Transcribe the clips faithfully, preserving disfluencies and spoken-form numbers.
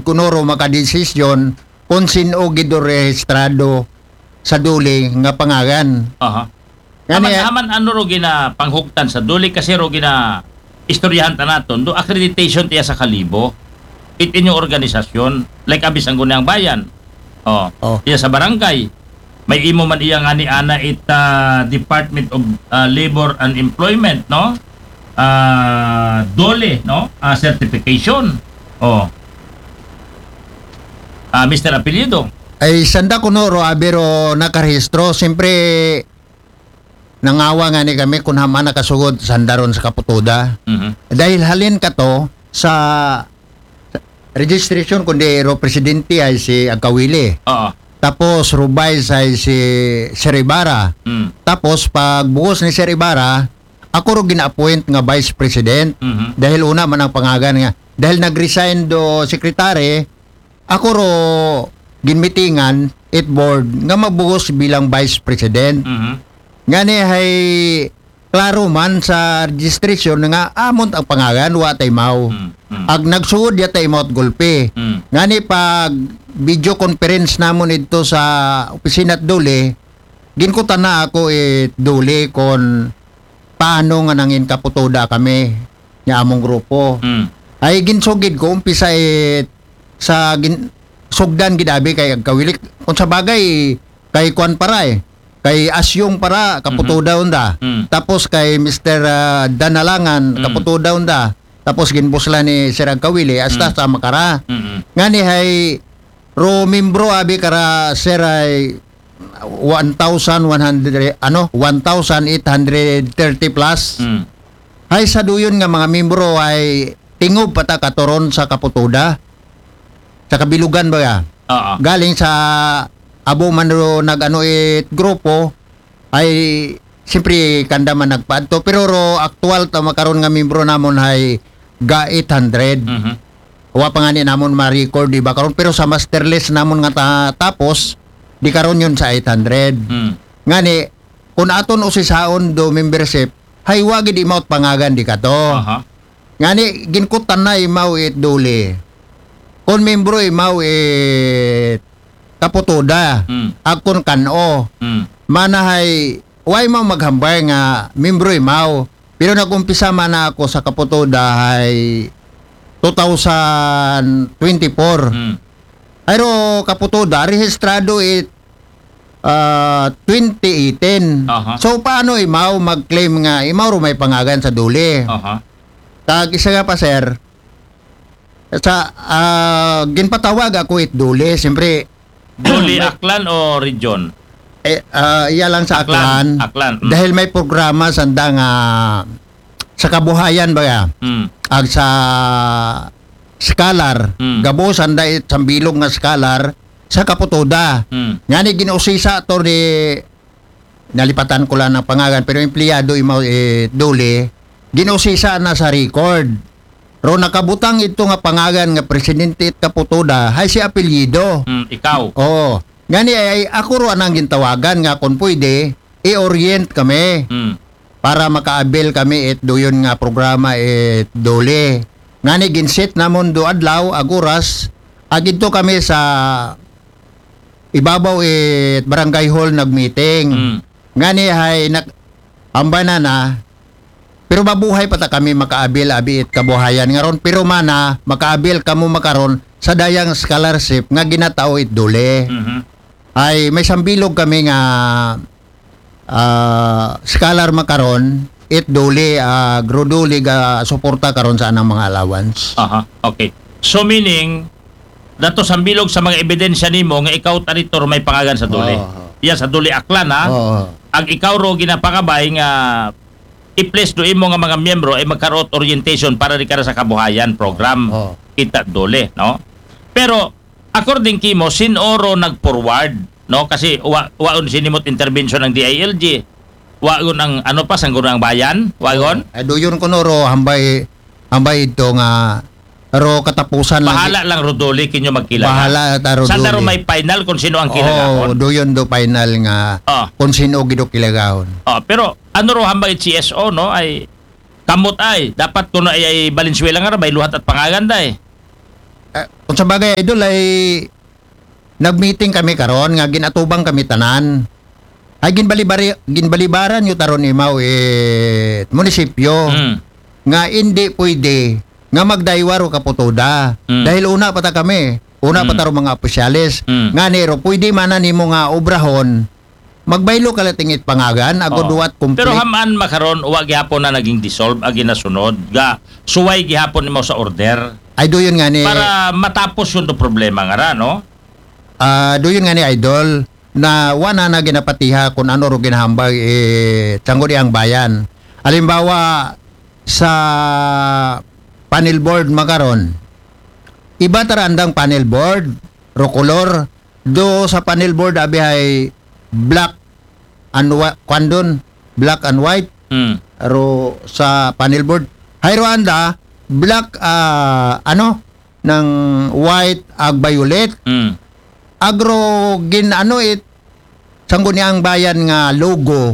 kuno ro makadesisyon kon sin-o gid ro rehistrado sa DOLE nga pangagan. Aha. Ngani, Aman, aman ano ro gina panghugtan sa DOLE kasi ro gina istoryahan ta naton do accreditation tiya sa kalibo. It inyong organisasyon, like abi Sangguniang Bayan. Oh, Oh. Tiya sa barangay. May imo man iya ngani ana it ah, Department of ah, Labor and Employment, no? Ah, DOLE, no? Ah, certification. Oh. Ah, Mister Apelyido. Ay sanda kuno ro abi ro nakarehistro, siyempre nangawa ngani kami kun haman nakasugod sanda ron sa KAPOTODA. Mhm. Dahil halin kato sa registration kundi ro presidente ay si Agkawili. Oo. Tapos ro vice ay si Sir Ibarra. Mm. Tapos pagbuhos ni Sir Ibarra, ako ro gina-appoint nga vice president. Mhm. Dahil una man ang pangagan nga. Dahil nag-resign do secretary, ako ro ginmitingan it board nga magbuhos bilang vice president. Mhm. Ngani hay klaro man sa registration nga amon ang pangagan, wa tay maw. Mm, mm. Ag nagsugod ya tay maw at gulpi. Mm. Ngani pag video conference namon idto sa opisina at DOLE, ginkutan na ako it DOLE kon paano nga nangin KAPOTODA kami nga among grupo. Mm. Ay ginsugid ko umpisa it sa gin, sugdan gid abi kay Agkawili. Kung sa bagay kay kuan para eh. Kay Asyong para KAPOTODA unda. Mm. Tapos kay Mister ah, Danalangan Mm. KAPOTODA unda. Tapos ginbusla ni Sir Agkawili hasta Mm. sa Makara. Mm-mm. Ngani hay ro membro abi kara Sir ay one thousand one hundred, ano, one thousand eight hundred thirty plus. Mm. Hay sa duyon nga mga membro ay tingob pa ta katuron sa KAPOTODA. Sa kabilugan ba ya? Oo. Galing sa abo man ro nag-ano it grupo ay siyempre kanda man nagpaadto, pero ro aktual ta makaron nga membro namon hay ga eight hundred. Mhm. Wa pa nga ni namon ma-record di ba karon, pero sa master list namon nga ta, tapos di karon yun sa eight hundred. Mm. Ngani kun aton usisaon do membership, hay wa gid imaw it pangagan di kato. Aha. Ngani ginkutan na imaw it DOLE. Kon membro imaw it KAPOTODA. Mm. Ag kon kan-o. Mm. Mana hay wa imaw maghambal nga membro imaw. Pero nag-umpisa man na ako sa KAPOTODA hay two thousand twenty-four. Mm. Ay ro KAPOTODA, rehistrado it ah, twenty eighteen. Aha. So paano imaw mag-claim nga imaw ro may pangagan sa DOLE? Aha. Kag isa nga pa sir, sa ah, ginpatawag ako it DOLE, siyempre DOLE Aklan o region? eh, ah, iya lang sa Aklan. Aklan. Mm. Dahil may programa sanda nga sa kabuhayan ba ya? Mm. Ag sa scholar, Mm. gabo sanda it sambilog nga scholar sa KAPOTODA. Mm. Ngani gin-usisa to ni, nalipatan ko lang ang pangalan, pero empleyado imaw eh, DOLE, gin-usisa na sa record. Ro nakabutang ito nga pangalan nga presidente it KAPOTODA, hay si apelyido. Mm, ikaw. Oo. Ngani ay, ay ako ro anang gintawagan nga kung pwede, i-orient kami Mm. para maka-avail kami it duyon nga programa it DOLE. Ngani ginset namon do adlaw ag oras, ag idto kami sa ibabaw it barangay hall nag-meeting. Mm. Ngani hay nak ambana na, pero mabuhay pa ta kami maka-avail abi it kabuhayan nga ron, pero mana maka-avail kamo makaron sa dayang scholarship nga ginatao it DOLE. Mhm. Ay may sambilog kami nga ah, scholar makaron it DOLE, ah, ro DOLE ga suporta karon sa anang mga allowance. Aha. Okay. So meaning dato sambilog sa mga ebidensya nimo nga ikaw tanitor may pangagan sa DOLE. Oo. Iya sa DOLE Aklan ha. Oo. Ag ikaw ro ginapakabay nga i-place do imo nga mga miyembro ay magkaroot orientation para di kara sa kabuhayan program. Oo. Kita DOLE, no? Pero according kimo, sin-o ro nag-forward, no? Kasi wa waon sinimot intervention ng D I L G. Waon ang ano pa, Sangguniang Bayan, waon? Ay duyon ko no ro hambay hambay ito nga ro katapusan Bahala lang ro DOLE kinyo magkilala. Bahala ta ro Sanda ro DOLE. May final kung sino ang Oo, kilala. duyon do final nga Oh. Kung sino gido kilagahon. Oh, pero ano ro hambay C S O, no? Ay kamot ay dapat kuno ay, ay Valenzuela nga ra may luhat at pangagan day. Ah, kung sa bagay, Idol, ay nag-meeting kami karon nga ginatubang kami tanan. Ay ginbalibari, ginbalibaran yu taron imaw it munisipyo Mm. nga hindi pwede nga magdaywa ro kaputoda. Mm. Dahil una pa ta kami, una pa Mm. taro mga opisyales. Mm. Nga niro, pwede man na nimo nga obrahon, magbaylo ka lating it pangagan, agod Oo. wa it conflict. Pero hamaan makaron, wa gihapon na naging dissolve, agi nasunod, ga suway gihapon nimo sa order. Ay, do yun nga ni, Para matapos yun do problema nga ra, no? Ah, do yun nga ni Idol, na wa na na ginapatiha kung ano ro ginahambag, eh, Sangguniang Bayan. Halimbawa, sa panel board makaron, iba tara andang panel board, ro color, do sa panel board abi hay black and whi-, kwan dun, black and white, Mm. ro sa panel board. Hay ro anda, black, ah, ano, ng white ag violet. Mm. Agro gin ano it, Sangguniang Bayan nga logo.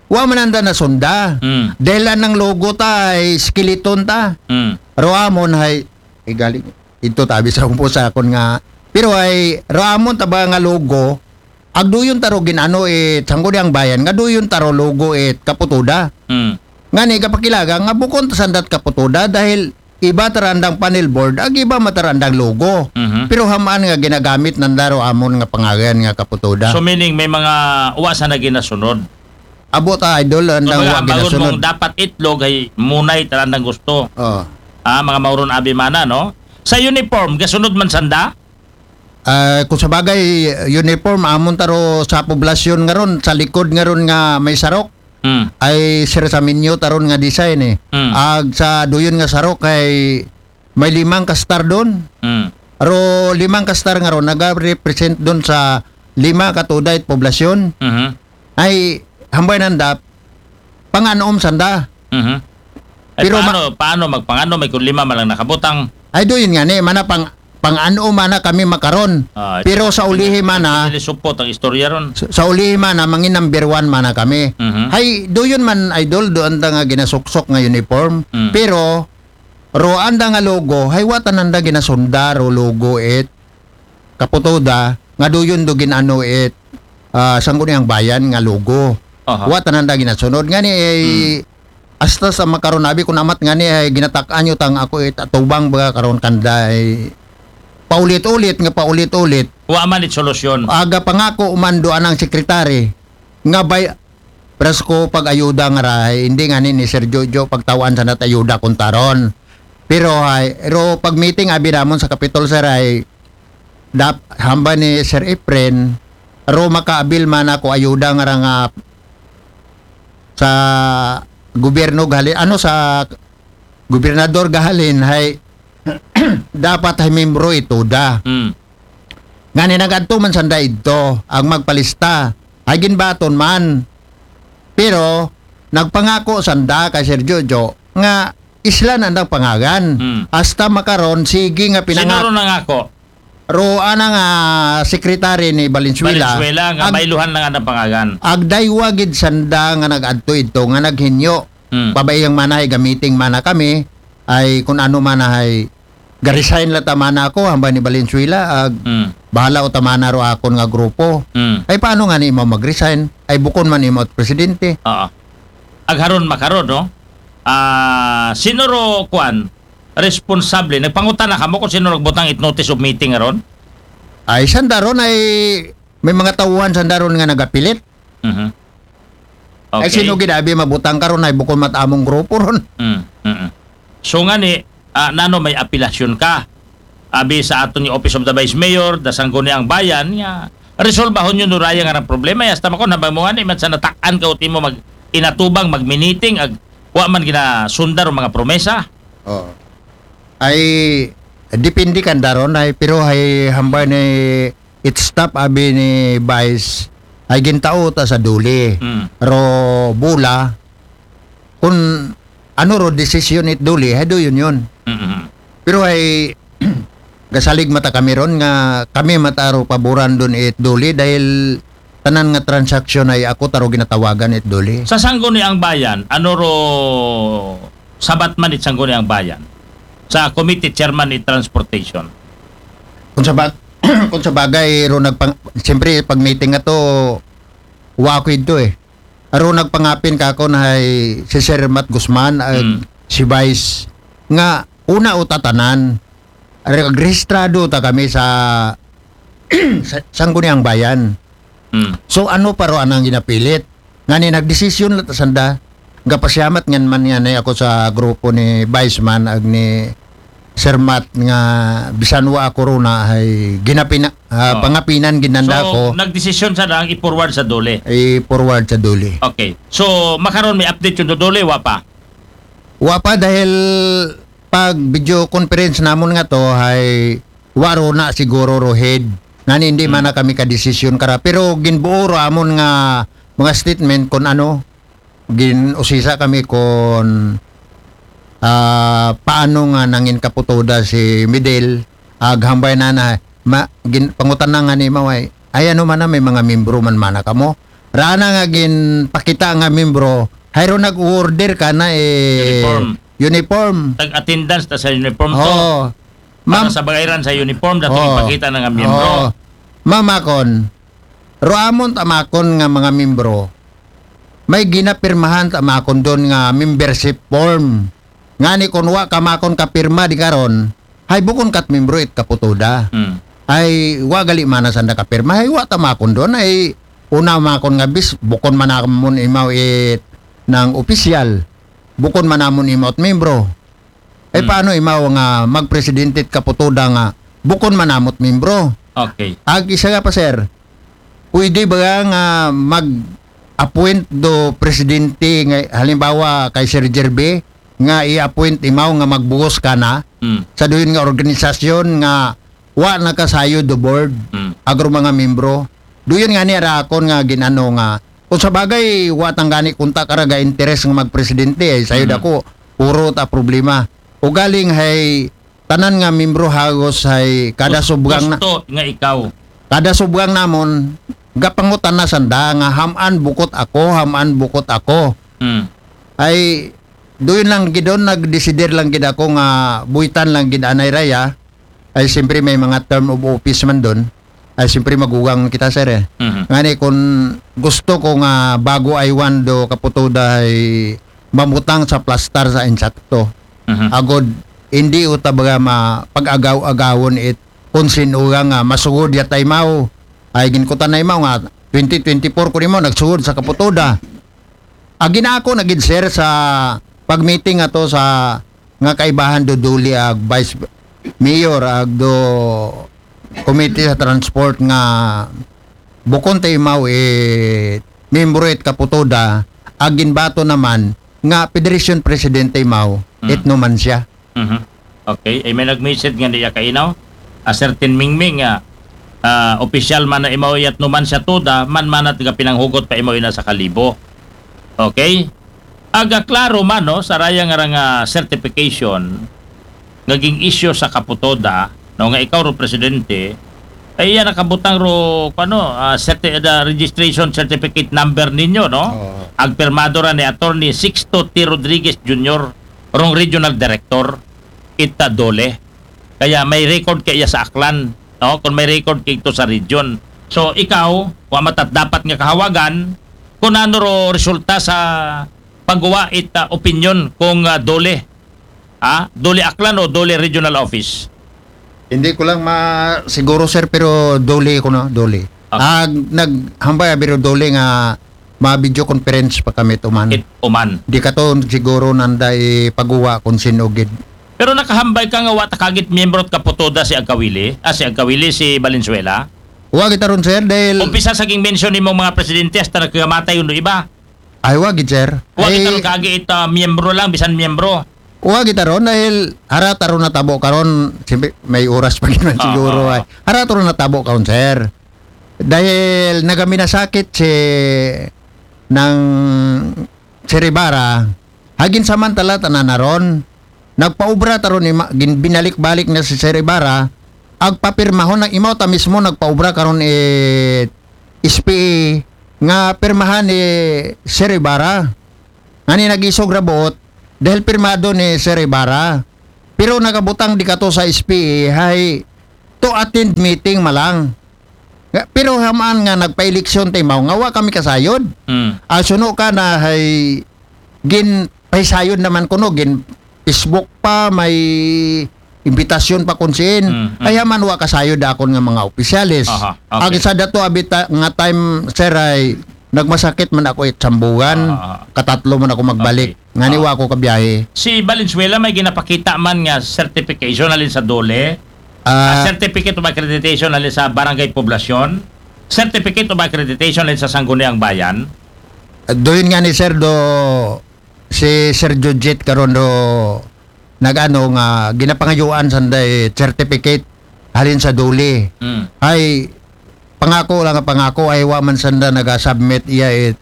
Wa man anda nasunda. Mm. Dahil anang logo ta ay skeleton ta. Mm. Ro amon hay, eh, galing, ito tabi sa umpo sa akon nga, pero ay, ro amon ta ba nga logo, agduyon taro gin ano it, Sangguniang Bayan, nga duyon taro logo it kaputoda. Mm. Nga ni, kapakilaga, nga bukon ta sandat kaputoda, dahil iba tarandang panel board, ag iba matarandang logo. Mhm. Pero hamaan nga ginagamit nanda ro amon nga pangagan nga kaputoda. So meaning may mga wa sa naginasunod. Abot, ah, Idol, andang Kumbaga, wa ang bagon ginasunod. Mong dapat itlog ay munay tarandang gusto. Oh. Ah, mga mauron abi mana, no? Sa uniform, gasunod man sanda? Ah, kung sa bagay, uniform, amon taro sa poblasyon nga ron, sa likod nga ron nga may sarok, Mm. ay sir sa minyo taron nga design eh. Mm. Ag sa duyon nga sarok ay may limang kastar doon. Mm. Ro limang kastar nga ron, naga-represent doon sa lima ka tuda it poblasyon. Mhm. Ay, hambay nanda, panganom sanda. Mhm. Ay, Pero ma- paano, paano magpangano may kung lima man lang nakabutang? Ay, do yun nga ni, mana pang, pang-ano mana kami makaron. Ah, Pero sa ulihi mana, Hindi supot ang istorya ron. sa, sa ulihi mana, mangin number one mana kami. Mhm. Hay, do yun man, Idol, do anda nga ginasuksok nga uniform. Mm. Pero, ro anda nga logo, hay wa tananda ginasunda, ro logo it, kaputoda, nga do yun do ginano it, ah, Sangguniang Bayan nga logo. Aha. Wa tananda ginasunod. Nga ni, eh, Mm. hasta sa makaron abi kun amat nga ni, ay ginatak-an nyo tang ako it atubang ba karon kanda, ay paulit-ulit nga paulit-ulit. Wa man it solusyon. Aga pangako man do anang sekretary nga bay, pras ko pag-ayuda nga ra, ay, hindi nga ni, ni Sir Jojo pagtawaan sa nat ayuda kung taron. Pero hay, ro pag meeting abi namon sa Capitol, sir, ay dap, hamba ni Sir Efren, ro makaabil man ako ayuda nga ra nga sa gobyerno gahalin, ano, sa gobernador gahalin, hay dapat hay membro ito da. Mm. Nga ni nagadto man sanda idto, ang magpalista, ay ginbaton man. Pero, nagpangako sanda kay Sir Jojo nga isla na andang pangagan. Mm. Hasta makaron, sige nga Sino pinangako. ron nangako? Ro ana nga secretary ni Valenzuela. Valenzuela, nga Ag-, bayluhan lang andang pangagan. agdaywa gid sanda nga nag-adto idto, nga naghinyo. Mm. Pabayang mana hay gamiting mana kami, ay kun ano mana hay ga-resign la ta mana ako, hambay ni Valenzuela, ag Mm. bahala o ta mana ro akon nga grupo. Mm. Ay paano nga ni imo mag-resign? Ay bukon man imo at presidente. Oo. Agharon makaron, no? Ah, sino ro, kuan, responsable? Nagpangutana kamo kung sino nagbutang it notice of meeting aron? Ay sanda ron ay may mga tauhan sanda ron nga nagapilit. Mhm. Ay Okay. sino gid abi mabutang karon ay bukon mat among grupo ron. Mm, mm, mm. So nga ni, ah, nano may apelasyon ka? Abi sa aton yung Office of the Vice Mayor, da Sangguniang Bayan, nga resolbahon yun uraya nga rang problema. Hasta makon, habang mo nga ni, man sa nataan ka uti mo mag inatubang, magminiting, ag wa man ginasundar ang mga promesa. Oh. Ay depende kanda ron ay, pero ay hambay ni it staff abi ni Vice ay gintao ta sa duli. Mm. Ro bula kun ano ro desisyon it duli, hay do yun yun. Mhm. Pero ay gasalig mata kami ron nga kami mata ro paboran dun it duli dahil tanan nga transaksyon ay ako taro ginatawagan it duli. Sa Sangguniang Bayan, ano ro sabat man it Sangguniang Bayan? Sa Committee Chairman it Transportation. kung sa bag-, kung sa bagay, ro nagpang-, siyempre, pag meeting nga to, wa ako ito eh. Aro nagpangapin ka ako na hay si Sir Matt Guzman, ag Mm. si Vice, nga una o tatanan, re-, rehistrado ta kami sa, sa Sangguniang Bayan. Mm. So ano pa ro anang ginapilit? Nga ni nagdesisyon la ta sanda, gapasyamat ngan man nga ni ako sa grupo ni Vice man ag ni Sir Matt nga bisan wa ako ro na ay ginapina, ah, Oh. pangapinan ginanda So, ko nagdesisyon sa lang i-forward sa DOLE. I-forward sa DOLE. Okay. So, makaron may update yung DOLE, wa pa? Wa pa dahil pag video conference namon nga to ay wa ro na siguro ro head. Ngani hindi man na kami ka-desisyon kara. Pero ginbuo ro amon nga mga statement kung ano, gin-usisa kami kung ah, paano nga nangin kaputoda si Midel, aghambay na na, ma, gin, pangutan na nga ni Maway, ay ano man na, may mga membro man mana kamo. Rana nga ginpakita nga membro, hayro nag-order ka na eh, Uniform. Uniform. Tag-attendance ta sa uniform to. Oo. Para Ma'am, sa bagayran sa uniform, dato Oo. ipakita na nga miyembro. Oo. Ma'am Akon, ro amon ta makon nga mga membro, may ginapirmahan ta makon doon nga membership form. Ngani kung wa ka makon kapirma di karon, hay bukon kat membro it kaputoda. Mm. Ay wa gali mana sanda kapirma, hay wa ta makon doon, ay una makon nga bis, bukon manamon imaw it ng opisyal, bukon manamon imaw it membro. Ay Hmm. paano imaw nga magpresidente it kaputoda nga bukon manamot membro? Okay. Ag isa nga pa, sir, pwede ba nga mag-appoint do presidente nga halimbawa kay Sir Jerby nga i-appoint imaw nga magbuhos ka na Mm. sa duyon nga organisasyon nga wa nakasayod do board Mm. agro mga membro? Duyon nga ni ara akon nga ginano nga kung sa bagay wa tanggani kunta karaga interes nga magpresidente ay sayod Mm. ako puro ta problema. Ugaling hay tanan nga membro hagos hay kada Gus-, subgang na gusto nga ikaw. kada subgang namon gapangutan na sanda nga haman bukot ako, haman bukot ako. Mm. Ay doon lang gidon nagdesider lang gid ako nga buitan lang gid anay raya. Ay siyempre may mga term of office man doon. Ay siyempre magugang kita, sir, eh. Mhm. Ngani kung gusto ko nga bago ay one do kaputoda ay mamutang sa plastar sa insakto. Mhm. Agod hindi uta baga ma pag-agaw-agawon it kung sino nga nga masugod ya taymaw ay ginkutan na imaw nga twenty twenty-four ko nimo nagsugod sa kaputoda. Agi na ako nagid, sir, sa pag-meeting ato sa nga kaibahan do DOLE ag vice mayor ag do committee sa transport nga bukon ta imaw it membro it kaputoda ag ginbato naman nga federation president ta imaw Mm. it numansya. Mhm. Okay. Ay may nag-message nga niya kainaw. A certain Mingming nga ah, opisyal man na imaw yat numansya toda, man man at pinanghugod pa imaw ina sa kalibo. Okay? Aga klaro man, no, sa raya nga rang certification nga ging-issue sa kaputoda, no, nga ikaw ro presidente, ay iya nakabutang ro, ano, ah, certi-, the registration certificate number ninyo, no? Oo. Agpirmado ra ni Attorney Sixto T. Rodriguez Junior, rong regional director, ita DOLE. Kaya may record kay iya sa Aklan, no? Kung may record kay ito sa region. So, ikaw, wa matat dapat nga kahawagan, kung ano ro resulta sa pagguwa ita opinion kung ah, DOLE. Ha? DOLE Aklan o DOLE Regional Office? Hindi ko lang ma siguro, sir, pero DOLE ko na, DOLE. Okay. Ah, naghambay abi ro DOLE nga ma video conference pa kami tuman. It uman. Di ka to siguro nanda ipaguwa kung sino gid. Pero nakahambay ka nga wa ta kagit miyembro at kaputoda si Agkawili, ah, si Agkawili, si Valenzuela. Wa kita ron, sir, dahil Umpisa sa ging mention nimo mga presidente hasta nagkamatay yung iba. Ay, wa gid, sir. Wa Ay, kita ron kagi ita miyembro lang, bisan miyembro. Wa gid ta ron dahil hara ta ron natabo karon, siyempre, may oras pa gid man Ah, siguro ah, ay. Hara ta ron natabo karon, sir. Dahil nagaminasakit si ng Sir Ibarra, hagin samantala tanan na ron. Nagpaubra ta ron ima, gin-, binalik-balik na si Sir Ibarra, agpapirmahon na imaw ta mismo nagpaubra karon it S P A nga pirmahan ni Sir Ibarra. Ngani nagisog ra buot dahil pirmado ni Sir Ibarra. Pero nakabutang di kato sa S P A hay to attend meeting man lang. Nga, pero haman nga nagpa-eleksyon ta imaw nga wa kami kasayod. Mm. Ah, suno ka na hay gin pahisayod naman kuno, gin Facebook pa, may imbitasyon pa kun siin. Mm, mm. Ay haman wa kasayod akon nga mga opisyales. Aha, okay. Ang isa dato abita nga time, sir, ay nagmasakit man ako it sambugan. Ah. Katatlo man ako magbalik. Okay. Ngani Ah. wa ako kabiyahe. Si Valenzuela may ginapakita man nga certification halin sa DOLE. Ah, Ah, certificate of accreditation halin sa barangay poblasyon. Certificate of accreditation halin sa Sangguniang Bayan. Doon nga ni Sir do, si Sir Jujit karon do nagano nga ginapangayuan sanday certificate halin sa DOLE. Mm. Ay pangako lang nga pangako, ay wa man sanda naga-submit iya it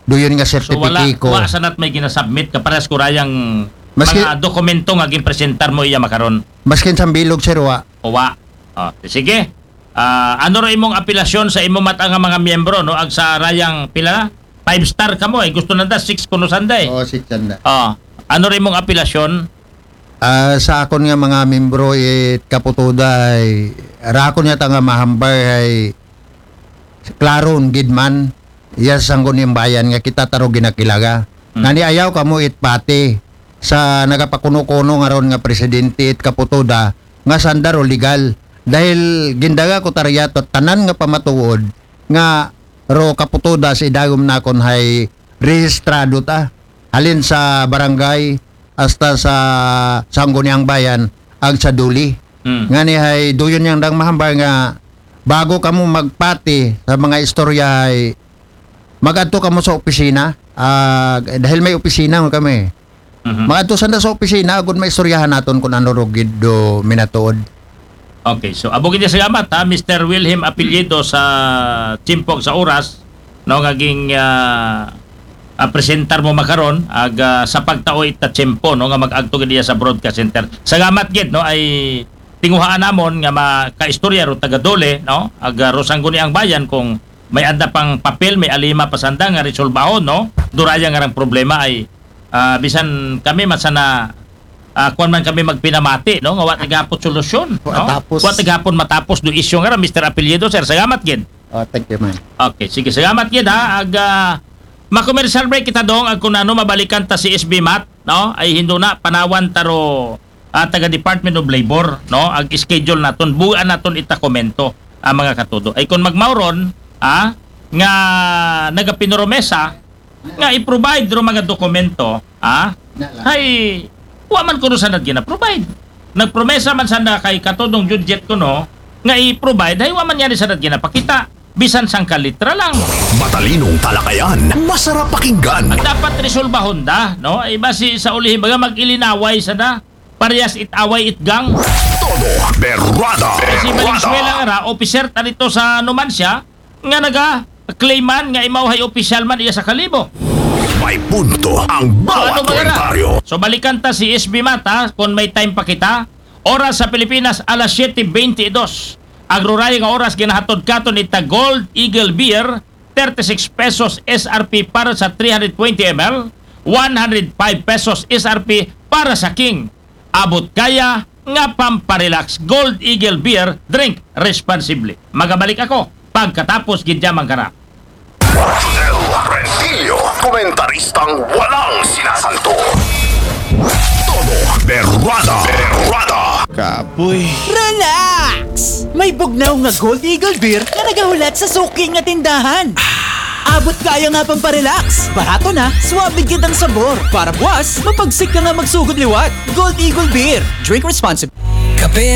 doon nga So wala, sertipiko. Wa sanat may ginasubmit kapares ko rayang Maski- mga dokumento nga ginpresentar mo iya makaron. Maskin sa bilog, sir, wa. O wa. Oh, sige. Ah, ano ra imong apelasyon sa imo mata nga mga miyembro, no? Ag sa rayang pila? Five star ka mo, eh. Gusto nanda six kuno sanday. Oo, six sanda. Oh, ano ra imong apelasyon? Ah, sa akon nga mga membro it Kaputuda ay rakon yata nga mahambar ay klaron gid man iya sa Sangguniang Bayan nga kita taro ginakilaga. Hmm. Ngani ayaw kamo it pati sa nagapakuno-kuno nga ron nga presidente it Kaputuda nga sanda ro legal. Dahil gindaga ko tariyato tanan nga pamatuod nga ro Kaputuda sa idagom nakon hay rehistrado ta. Halin sa barangay hasta sa Sangguniang Bayan ag sa DOLE. Hmm. Ngani hay doon yang dang mahambar nga bago kamo magpati sa mga istorya hay magadto kamo sa opisina. Ah, dahil may opisina man kami. Mhm. Magadto sanda sa opisina agud maistoryahan naton kung ano ro gid do minatuod. Okay, so abo gid salamat ha, Mister Wilhelm Apelyido sa Timpog sa Oras, no, nga ging ah, ah, presentar mo makaron ag ah, sa pagtao ita tiyempo, no, nga mag-agto gid iya sa Broadcast Center. Salamat gid, no, ay tinguhaan namon nga makaistorya ro taga DOLE, no, ag ah, ro Sangguniang Bayan kung may anda pang papel, may alima pa sanda nga resolbahon, no, duraya nga rang problema ay ah, bisan kami masana ah, kuwan man kami magpinamati, no, nga wa ta gihapon solusyon, no? Wa tapos. Wa ta gihapon matapos do isyu nga ra, Mister Apelyido, sir. Salamat gid. Oh, thank you, man. Okay, sige, salamat gid ha. Ag ah, ma-commercial break kita dong, ag kun ano mabalikan ta si S B Mat, no? Ay hindo na panawan taro ah, taga Department of Labor, no? Ag schedule naton, buan naton ita komento ang mga katudo. Ay kun magmauron, ah, nga nagapinoromesa nga i-provide ro mga dokumento, ah, hay wa man kuno sanad gina-provide. Nagpromesa man sanda kay katudong Judget kuno nga i-provide, hay wa man yani sanad ginapakita. Bisan sangka litra lang. Matalinong talakayan, masarap pakinggan. Dapat resolbahon da, no? Ay basi sa ulihi baga mag-ilinaway sa da. Parehas it away it gang. Todo berrada. Si Valenzuela nga ra, officer ta dito sa Numancia, nga naga-claim man nga imaw hay opisyal man iya sa Kalibo. May punto ang bawat Ano ba na? Komentaryo. So balikan ta si S B Mat ha, kung may time pa kita. Oras sa Pilipinas, alas siyete beintidos. Ag ruray nga oras ginahatod katon ita Gold Eagle Beer, thirty-six pesos S R P para sa three hundred twenty M L, one hundred five pesos S R P para sa King. Abot kaya nga pamparelax. Gold Eagle Beer, drink responsibly. Magabalik ako pagkatapos gid yaman kara. Rodel Rentillo, komentaristang walang sinasanto. Todo berrada. Berrada. Kapoy. Relax! May bugnaw nga Gold Eagle Beer nga nagahulat sa suki nga tindahan. Abot kaya nga pamparelax. Barato na, suabe gid ang sabor. Para buwas, mapagsik ka nga magsugod liwat. Gold Eagle Beer. Drink responsibly. Kape